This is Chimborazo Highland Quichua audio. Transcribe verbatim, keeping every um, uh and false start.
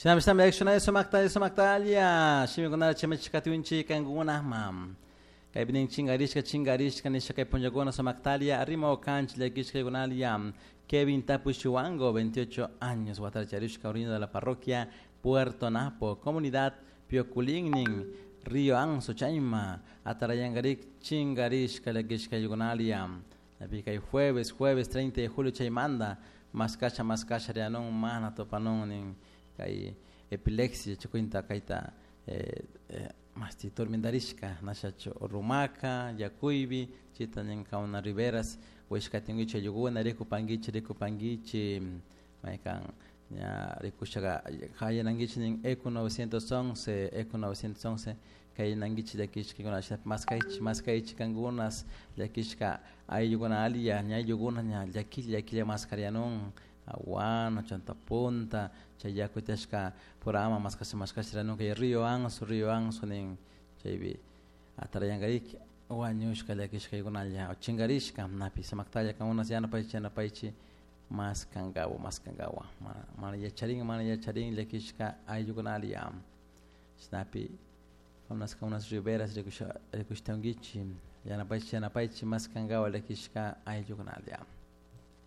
Shinami shina sumakta sumaktalla shimikunata chimachikatiunchik kankunakman kaypi nin chinkarishka chinkarishka nisha kay punllakuna sumaktalia rimawkanchik llakishkaykunalia Kevin Tapushiwango, veintiocho años, watata charishka, oriundo de la parroquia Puerto Napo, comunidad Pioculingnin, Río Anso, Chaima, Atarayangarik, chinkarishka llakishkaykunalia. Kay jueves, jueves treinta de julio chaymanta, maskasha maskasha rianun mana tupanun nin kay epilepsia chukwinta kayta eh, eh, masti tormentarishka nashachu rumaka yakuybi chita nin kauna Riveras wishkatinguichi ayllukuna rikupankichik rikupankichik maykan ña rikushaka hayanankichik nin Eco novecientos once Eco novecientos once kayanankichik llakishkakuna shinapish maskaychik maskaychik kankunas llakishka ayllukuna alli ña ayllukuna ña llakilla llakilla maskarianun Aguano, Chantapunta, chay yaku tiyashka pura ama maskasha maskasha rianun kay Río Anso, Río Anso nin chaypi atarayankarik wañushka llakishkaykunalla o chinkarishka napi samaktalla kankunas yanapaychik yanapaychik maskankawa maskankawa mana mana yacharin mana yacharin llakishka ayllukunalla chashnapi unas unas Riveras rikusha rikushtankichik yanapaychik yanapaychik maskankawa llakishka ayllukunalla.